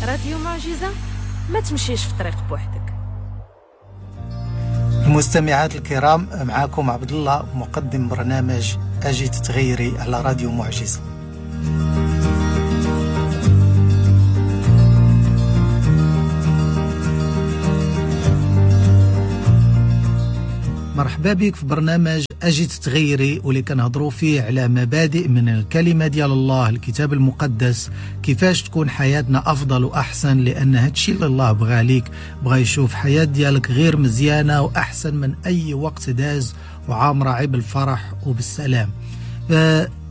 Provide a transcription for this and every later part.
راديو معجزة، ما تمشيش في طريق بوحدك. المستمعات الكرام، معكم عبد الله مقدم برنامج أجي تتغيري على راديو معجزة. مرحبا بك في برنامج أجي تتغيري، واللي كنهضروا فيه على مبادئ من الكلمة ديال الله، الكتاب المقدس، كيفاش تكون حياتنا أفضل وأحسن. لأن هادشي اللي الله بغى ليك، بغى يشوف حياة ديالك غير مزيانة وأحسن من أي وقت داز، وعامرة عيب بالفرح وبالسلام.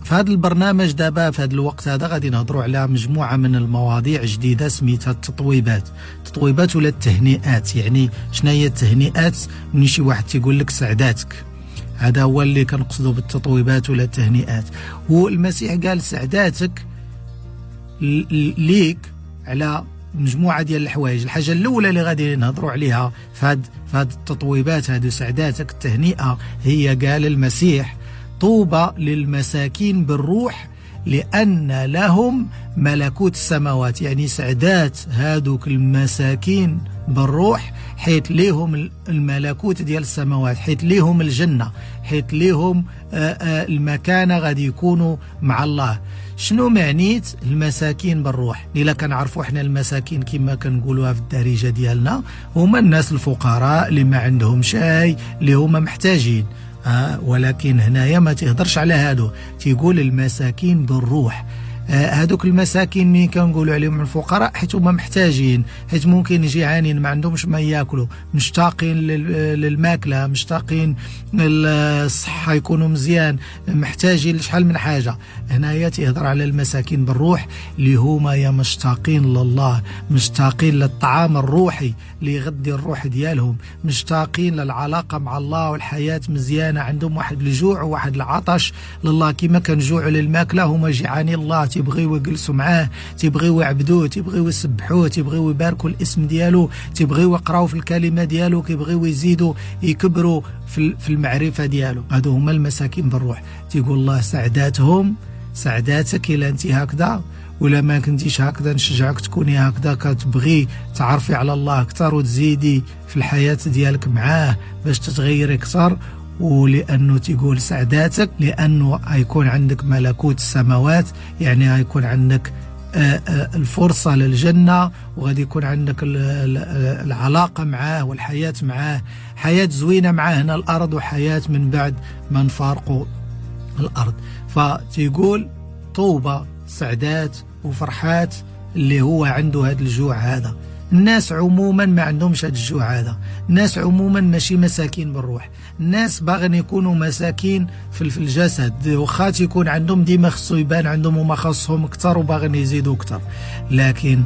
في هذا البرنامج دابا في هذا الوقت هذا غادي نهضروا على مجموعة من المواضيع جديدة سميتها التطويبات. التطويبات ولا التهنئات. يعني شنو هي التهنئات؟ ملي شي واحد تيقول لك سعداتك، هذا هو اللي كنقصدوا بالتطويبات ولا التهنئات. والمسيح قال سعداتك ليك على مجموعة ديال الحوايج. الحاجة الأولى اللي غادي نهضروا عليها في هاد التطويبات هادو سعداتك التهنئة، هي قال المسيح طوبى للمساكين بالروح لأن لهم ملكوت السماوات. يعني سعدات هادوك المساكين بالروح حيت ليهم الملكوت ديال السماوات، حيت ليهم الجنة، حيت ليهم المكانة، غادي يكونوا مع الله. شنو معنيت المساكين بالروح؟ إلا كنعرفوا حنا المساكين كما كنقولوها في الدارجة ديالنا، هما الناس الفقراء اللي ما عندهم شيء، اللي هما محتاجين. ولكن هنايا ما تهدرش على هادو، تيقول المساكين بالروح. هادوك المساكين مين كنقولوا عليهم الفقراء؟ حيت هما محتاجين، حيت ممكن جيعانين ما عندهمش ما ياكلوا، مشتاقين للماكله، مشتاقين للصحه يكونوا مزيان، محتاجين لشحال من حاجه. هنايا تيهضر على المساكين بالروح اللي هما يا مشتاقين لله، مشتاقين للطعام الروحي اللي يغذي الروح ديالهم، مشتاقين للعلاقه مع الله والحياه مزيانه، عندهم واحد الجوع وواحد العطش لله. كما كنجوعوا للماكله هما جيعانين الله، تيبغيو يجلسوا معاه، تيبغيو يعبدوه، تيبغيو يسبحوه، تيبغيو يباركوا الاسم ديالو، تيبغيو يقراو في الكلمه ديالو، كيبغيو يزيدوا يكبروا في المعرفه ديالو. هادو هما المساكين بالروح. تيقول الله سعداتهم، سعداتك الا انت هكذا، ولا ما كنتيش هكذا نشجعك تكوني هكذا، كتبغي تعرفي على الله اكثر وتزيدي في الحياه ديالك معاه باش تتغيري اكثر. ولأنه تيقول سعداتك لأنه هيكون عندك ملكوت السماوات، يعني هيكون عندك الفرصة للجنة، وغادي يكون عندك العلاقة معاه والحياة معاه، حياة زوينة معاه هنا الأرض، وحياة من بعد ما نفارقوا الأرض. فتيقول طوبى سعدات وفرحات اللي هو عنده هذا الجوع هذا. الناس عموما ما عندهمش هذا الجوع هذا، الناس عموما ماشي مساكين بالروح، الناس باغين يكونوا مساكين في الجسد، واخا تيكون عندهم ديما خصو يبان عندهم وما خاصهم اكثر وباغين يزيدوا اكثر، لكن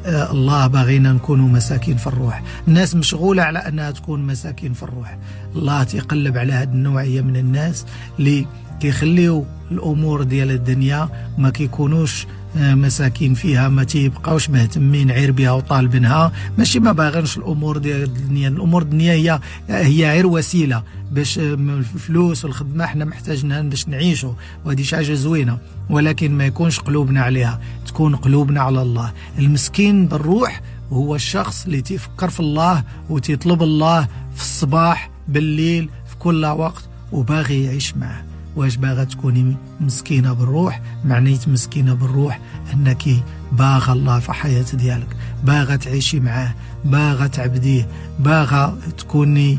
الله باغينا نكونوا مساكين في الروح. الناس مشغولة على أنها تكون مساكين في الروح. الله تيقلب على هذه النوعية من الناس اللي كيخليو الأمور ديال الدنيا ما كيكونوش مساكين فيها، ما تيبقاوش مهتمين عير بها وطالبينها. ماشي ما باغينش الامور ديال الدنيا، الامور الدنيا هي غير وسيله باش الفلوس والخدمه حنا محتاجينها باش نعيشوا، وهذه شي حاجه زوينه، ولكن ما يكونش قلوبنا عليها، تكون قلوبنا على الله. المسكين بالروح هو الشخص اللي تيفكر في الله وتيطلب الله في الصباح بالليل في كل وقت وباغي يعيش معه. واش باغا تكوني مسكينة بالروح؟ معنيت مسكينة بالروح أنك باغا الله في حياة ديالك، باغا تعيشي معاه، باغا تعبديه، باغا تكوني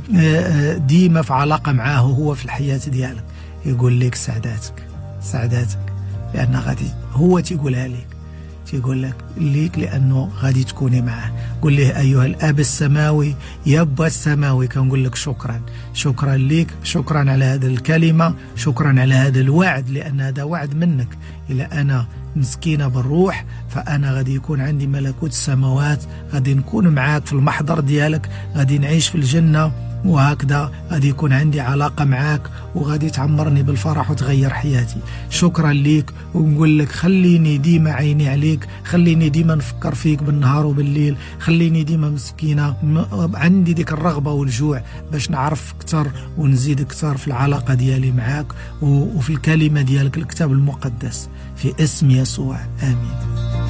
ديما في علاقة معاه وهو في الحياة ديالك. يقول لك سعداتك، سعداتك، لأن غادي هو تيقولها لك، تيقول لك ليك لأنه غادي تكوني معاه. قل له أيها الأب السماوي، يا أبا السماوي، كنقول لك شكرا، شكرا ليك، شكرا على هذه الكلمة، شكرا على هذا الوعد، لأن هذا وعد منك. إلا أنا مسكينة بالروح فأنا غادي يكون عندي ملكوت السماوات، غادي نكون معاك في المحضر ديالك، غادي نعيش في الجنة، وهكذا غادي يكون عندي علاقة معاك وغادي تعمرني بالفرح وتغير حياتي. شكرا ليك، ونقول لك خليني ديما عيني عليك، خليني ديما نفكر فيك بالنهار وبالليل، خليني ديما مسكينة عندي ديك الرغبة والجوع باش نعرف أكثر ونزيد أكثر في العلاقة ديالي معاك وفي الكلمة ديالك الكتاب المقدس، في اسم يسوع، آمين.